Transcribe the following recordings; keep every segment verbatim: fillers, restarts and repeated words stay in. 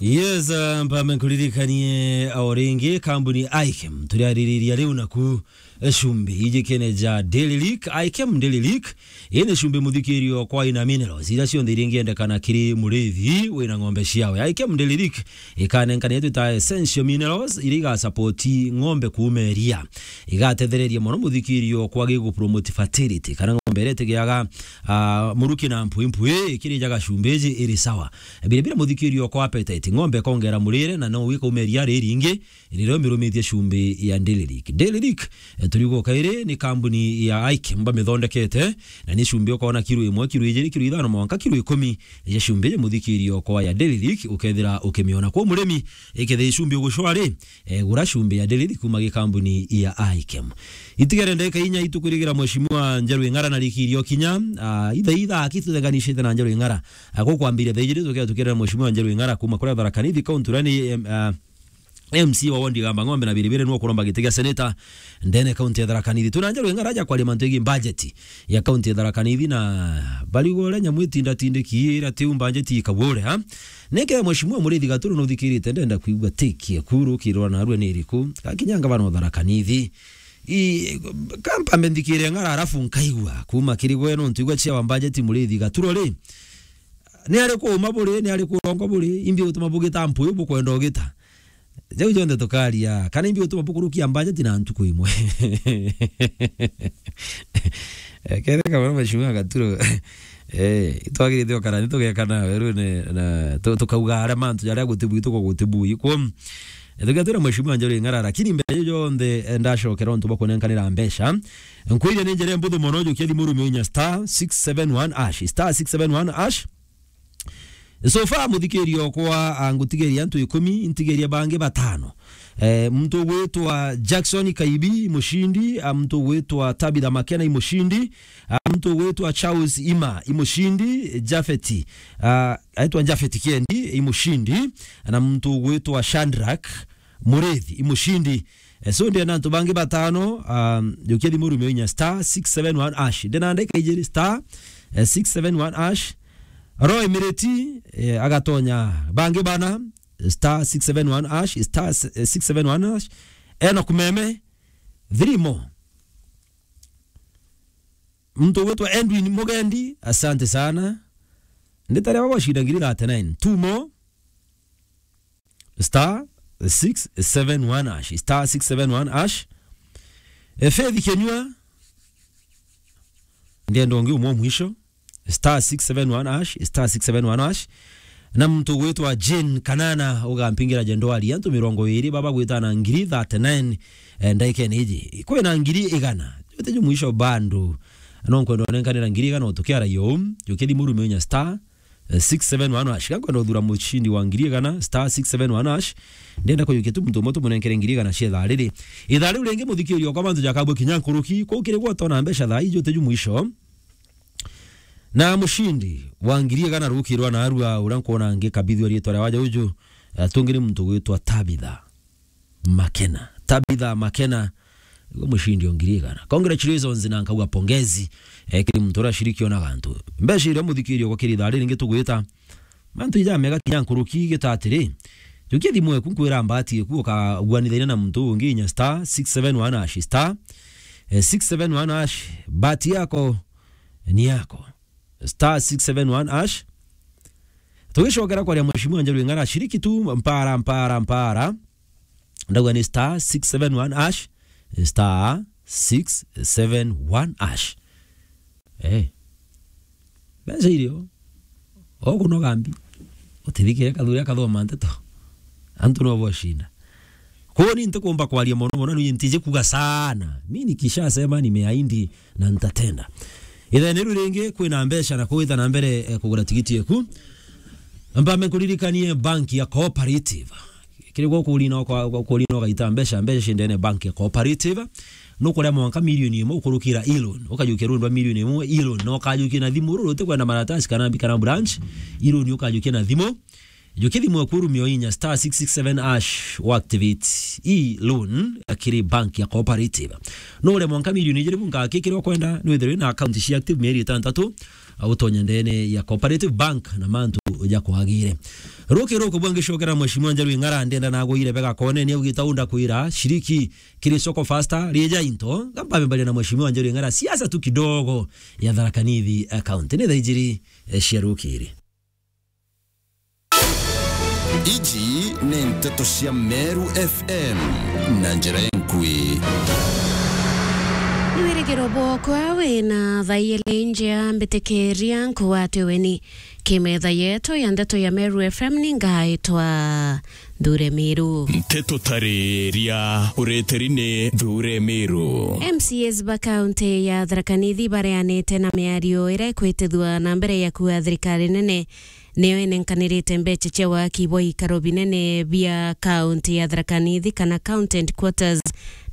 Yes, uh, mpambe nkuririkanie o ringi, kambuni Ikem turiaririria riu naku, eh, cumbi ijikene ja Daily Leak, Ikem Daily Leak. Ii ni cumbi muthikirio kwa ina minerals iria cionthe iria ingiendekana kiri murithi wina ng'ombe ciawe. Ikem Daily Leak ikanenkanire twita essential minerals iria igasapoti ng'ombe kuuma iria. Igatethereria mono muthikirio kwa gigupromote fertility, kana ng'ombe iria itigiaga, ah, muruki na mpwi mpwi, ikirijaga cumbi iji iri sawa. Bire bire muthikirio kwa appetite, ng'ombe ikongera murire na no wika umeria riringi, riria umirumitie cumbi ya Daily Leak. Daily Leak, eh, turiuga kairi ni kambuni ya Ikem bamithondekete, na ni cumbi ukona kiro imwe, kiro ijiri, kiro ithano, mwanka kiro ikumi ya cumbi iji muthikirio kwa ya Daily Leak, ukethira ukimiona. Kwa murimi, ikethira cumbi ugucwa ri, eh, gura cumbi ya Daily Leak kuma gi kambuni ya Ikem. Itigere ndagika inya itukwirigira Mheshimiwa Njeru Ing'ara na riki irio kinya, ah, itha itha akitutenganishite na Njeru Ing'ara. Ah, gukwambiria thaa ijiri tukia tukirira Mheshimiwa Njeru Ing'ara kuma kuria Tharaka Nithi, kaunti uria ni, em, ah, M C wa ward ya Gamba Ng'ombe na biribiri niwe ukuromba giti gia seneta ndene kaunti ya Tharaka Nithi. Tuna Njeru Ing'ara aja kwaria mantu igi budget ya kaunti ya Tharaka Nithi na bariuga uria nyamu itindatindiki ira tiu budget ikabure, ha? Neke Mheshimiwa Murithi Gaturu nuthikirite, ndenda kwigua tiki ya kuru kirwa na arua ni iriku. Gakinya ngavana wa Tharaka Nithi. I, kampambe nthikire Ng'ara, alafu nkaigua kuma kiri gwe nontu igua chair wa budget Murithi Gaturu ri. Ni ari kuuma buri, ni ari kurongo buri, imbi gutuma bugita mpuyu bukwenda ugita. Jau jonthe tukaria, kana imbi gutuma bukurukia budget na ntuku imwe. Eh, ketheka mono Mheshimiwa Gaturo. Eh, itwagirite okara, nitugeka nawe riu ni, na, tu-, tukauga aria mantu jaria gutibui, tuko gutibui. Kwo, eh, tugatwira Mheshimiwa Njeru Ing'ara, lakini mbere ya jonthe, eh, ndacokera untu bwa kunenkanira mbeca. Nkwire ni njira mbuthu mono, jukia thimu rume inya star six seven one hash, star six seven one hash. So far, muthikirio kwa, ah, ngutigeria antu ikumi, ntigeria bangi batano. Eh, muntu ugwitwa Jackson Kaibi, i mucindi, ah, muntu ugwitwa Tabitha Makena, i mucindi, ah, muntu ugwitwa Charles Ima, i mucindi, Jafeti, ah, aitwa Jafeti Kiendi, i mucindi, na muntu ugwitwa Shandrak Murithi, i mucindi. Eh, so, ndena antu bangi batano, um, jukia thimu rume inya star six seven one hash. Ndena ndagika ijiri star, eh, six seven one hash. Roy Mireti, eh, agatonya bangi bana, star six seven one hash, star, eh, six seven one hash. Enoch Meme, three more. Muntu ugwitwa Edwin Mugendi, asante sana. Nditare baba shinda ngiri thirty-nine. Two more. Star six seven one hash. Star six seven one hash. E, Faith Kenyua. Ndienda ungi umwe mwisho. Star six seven one hash. Star six seven one hash. Na muntu ugwitwa Jane Kanana ugampingira jendwari. Antu mirongo iri baba gwitana ngiri thirty-nine, eh, ndaikene iji. Kwina ngiri igana. Jote ju mwisho bando. No nkwenda unenkanira ngiri igana utukiara yo. Jukia thimu rume inya star eh, six seven one hash. Gakwenda uthura mucindi wa ngiri igana, star six seven one hash. Ndenda kujukia tu muntu umwe tumunenkere ngiri igana cia ithaa riri. Ithaa riu ringi muthikirio kwa mantu jakabwe kinya nkuruki, kuu kiri gwotona mbeca thaa iji uteju mwisho. Na mucindi wa ngiri igana rukirwa na arua uria nkwona ngikabithua riitwa ria waja uju, eh, tungi ni muntu gwitwa Tabitha Makena. Tabitha Makena, iwe mucindi o ngiri igana. Congratulations na nkauga pongezi, eh, kiri muntu uria ashiriki ona gantu. Mbeca iria muthikirio kwa kiri ithaa riri ringi tugwita. Mantu ijamega kinya nkuruki gita atiri. Jukia thimu eku nkwira mbati eku ukaguanithaina na muntu ungi inya star six seven one hash star, eh, six seven one hash. Bahati yako ni yako. Star six seven one hash. Tugicokera kwaria Mheshimiwa Njeru Ing'ara, shiriki tu mpara, mpara, mpara. Ndauga ni star six seven one hash, star six seven one hash. Eh. Mbeca irio. Okunoga mbi. Utithikire kathuri akathoma nteto. Antu no boshinda. Kwou ni ntikumba kwaria mono mono, ni ntiji kuga sana. Mi nikishasema nimeahidi na ntatenda. Ithene riu ringi kwina mbeca na kuwita na mbere, eh, kugura tigiti eku. Mpambe nkuririkanie bank ya Cooperative. Kiri gwo kurina kwa, kwa kurina ugaita mbeca, mbeca ciendene bank ya Cooperative. Nukuria mwanka milioni imwe ukurukira e-loan. Ukajukia rundu rwa milioni imwe e-loan. Na ukajukia na thimu ruru utikwenda maratasi kana mbi kana branch. E-loan ukajukia na thimu. Jukithimwe kurumio inya star six six seven hash wa activate e-loan kiri bank ya Cooperative. No uria mwanka milioni ijiri bunka kikiri ukwenda, nwithirwe na account cia active mieri itantatu, utonya ndene ya Cooperative Bank na mantu ja kwagire. Ruki ruku bwangicokera Mheshimiwa Njeru Ing'ara, ndenda nagwire bega kone ni augite unda kwira shiriki kiri soko faster, rieja into, gamba mbaria na Mheshimiwa Njeru Ing'ara, siasa tu kidogo ya Tharaka Nithi account. Ni thaa ijiri, eh, cia rukiri. Iji ni nteto cia Meru F M na njira enkui. Ni wirigiro bwokwa wina thaa ijiri njea, mbitikiria nkugwate weni. Kimetha yetu ya ndeto ya Meru F M ni ngaitwa Nthure Miru. Nteto tariria ureteri ni Nthure Miru. M C As ba kaunti ya Tharaka Nithi bareanite na miario iria ikwitithua na mbere ya kuuga thirikari nene niyo inenkanirite mbeca cia waki bwa ikaro binene bia kaunti ya Tharaka Nithi kana county headquarters,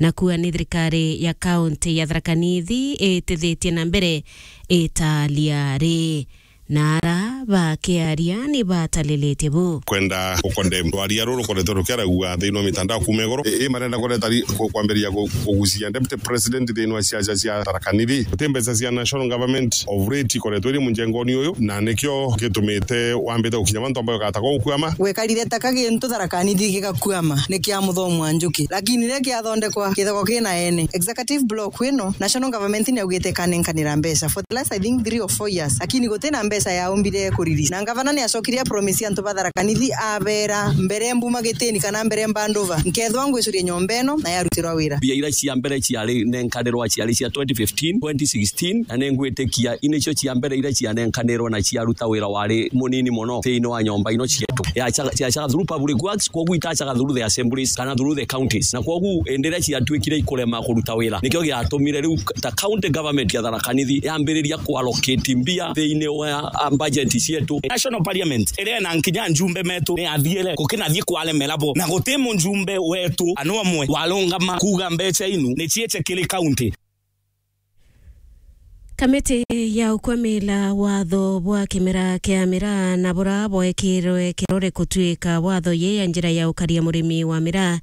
na kuuga ni thirikari ya kaunti ya Tharaka Nithi itithitie na mbere italia ri. Na ara bakiaria ni batalilitie bu. Kwenda gukondemn rwaria ruru rukoretwe rukiaragua thiini wa mitandao kuuma iguru. I, i marenda kureta ri-, ku-, kwambiriria ku-, kugucia Deputy President thiini wa siasa cia Tharaka Nithi. Guti mbeca cia National Government of late ikoretwe iri munjengoni uyu, na nikio gitumite wambite gukinya bantu ambayo gatagwa gukwama. Gwekarire ta ka gintu Tharaka Nithi gigakwama, ni kia Muthomi wa Njuki. Lakini riria kiathondekwa, kithagwa kina ene. Executive block ino, National Government ni augite ikanenkanira mbeca for the last, I think, three or four years, lakini gutina mbeca yaumbire kuriri. Na ngavana ni acokire a promise antu ba Tharaka Nithi, abera, "Mbere mbuma gitini kana mbere mbandova, nkethwa ngwicuria nyomba ino na yarutirwa wira." Mbia iria cia mbere ciari nenkanirwa ciari cia twenty fifteen, twenty sixteen, na ningwitikia inicio cia mbere iria cianenkanirwe na ciaruta wira wari munini mono thiini wa nyomba ino cietu. Yacaga, yacaga through public works, kwoguo itacaga through the assemblies kana through the counties. Na kwoguo indi iria ciatuikire ikurema kuruta wira, nikio giatumire riu ta county government ya Tharaka Nithi yambiriria kuallocate mbia thiini wa, a, budget cietu. National Parliament iria ina nkinya njumbe metu ni athiire gukinathie kwaremera bo, na guti mujumbe wetu ana umwe warungama kuuga mbeca inu ni ciice kiri county. Kamiti ya ukwamila watho bwa kimera kia miraa na bura bwekirwe kirore kutuika watho ye ya njira ya ukaria murimi wa miraa,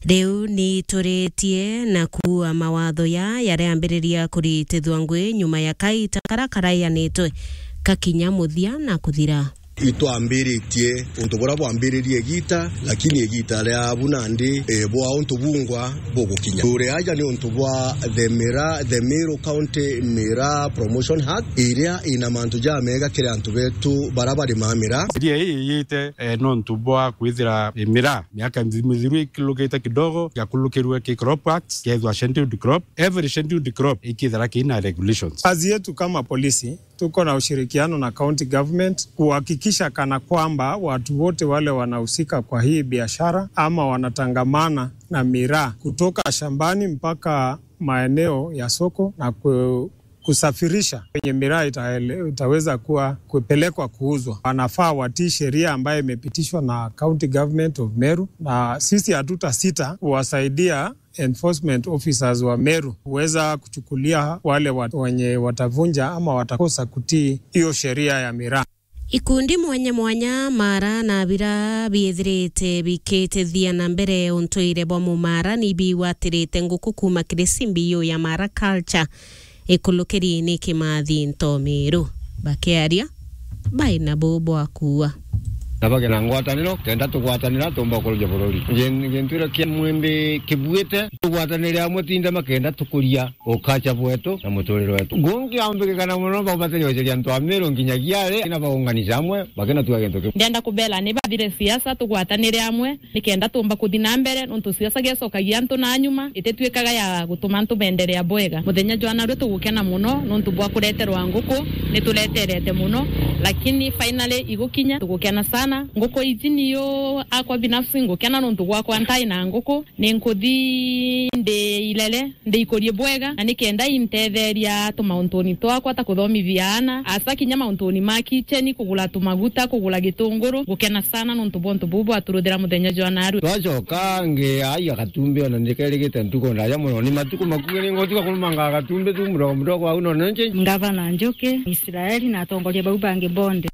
riu ni ituritie na kuua mawatho ya yaria ambiriria kuritithwa ngui nyuma ya kaita karia karaianitwe kakinya muthia na kuthira. Itwambiritie untu buria bwambiririe igita, lakini igita ria bu nandi, eh, bwa untu bungwa bugukinya. Turi aja ni untu bwa the Miraa, the Meru County Miraa Promotion Act, iria ina mantu jamega kiri antu betu baria barimaa miraa. Sheria ii iyite, eh, nontu bwa kwithira, eh, miraa miaka mithiru ikulukite kidogo, giakulukirwe ki Crop Act, kethwa scheduled crop. Every scheduled crop ikithira kina regulations. Kazi yetu kama polisi, tuko na ushirikiano na county government kuhakikisha kana kwamba watu wote wale wanahusika kwa hii biashara ama wanatangamana na miraa kutoka shambani mpaka maeneo ya soko na ku-, kusafirisha kwenye miraa itaele-, itaweza kuwa kupelekwa kuuzwa, wanafaa watii sheria ambayo imepitishwa na County Government of Meru, na sisi hatutasita kuwasaidia enforcement officers wa Meru huweza kuchukulia wale wa-, wenye watavunja ama watakosa kutii hiyo sheria ya miraa. Ikundi mwanya mwanya, mara na bira biithirite bikitithia na mbere untuire bwa mumara ni biwatirite nguku kuuma kiri simbi iyo ya Mara Culture. Ikulukiri ni kimathi ntomiru. Bakiaria, bai na bu bwa kuua. Na bage na ngwataniro, kenda tugwatanira tumba kuruja bururi. Gin-, gintu iria kia mwimbi kibuite, tugwatanire amwe tinde makenda tukuria ukacha bwetu na muturire wetu. Gungi ambikikana muno baubatiri guceria antu a Miru nginyagia ari, na baunganisha amwe, bakina tuga gintu kiu. Ndenda kubela ni bathire siasa, tugwatanire amwe, nikenda tumba kuthi na mbere, nontu siasa giacokagia antu na nyuma, ititwikaga ya gutuma antu benderea bwega. Muthenya jwa narua tugukena muno, nontu bwa kureterwa nguku, nitureterete muno, lakini finally igukinya, tugukena sana. Nguku iji niyo akwa binafsi ngukena, nontu gwakwa ntai na nguku, ninkuthi ndi ilele, ndiikurie bwega, na nikenda intetheria tumauntuni twakwa ta kuthomithia aana, asa kinya mauntuni ma kicheni, kugura tumaguta, kugura gitunguru. Ngukena sana nontu bwa untu buu bwaturuthira muthenya jwa narua. Twacoka ngiaia gatumbi, ona ndikerigite ntuku ndaja muno. Ni matuku makuhi ningotiga kurumanga gatumbi tu mudogo mudogo au nonenche. Ngavana Njuki, Israeli na atongoria bau bangi bonthe.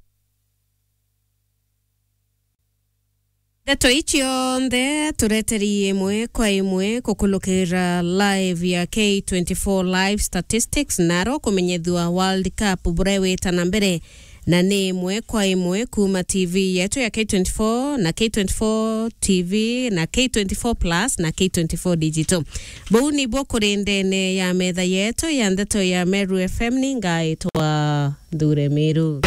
Ndeto ici cionthe tureteri imwe kwa imwe kukulukira live ya K twenty-four Live Statistics, naro kumenyethua World Cup buria wita na mbere, na ni imwe kwa imwe kuma T V yetu ya K twenty-four na K twenty-four T V na K twenty-four Plus na K twenty-four Digital. Buu nibuo kuri ndene ya metha yetu ya ndeto ya Meru F M, ni ngaitwa Nthure Miru.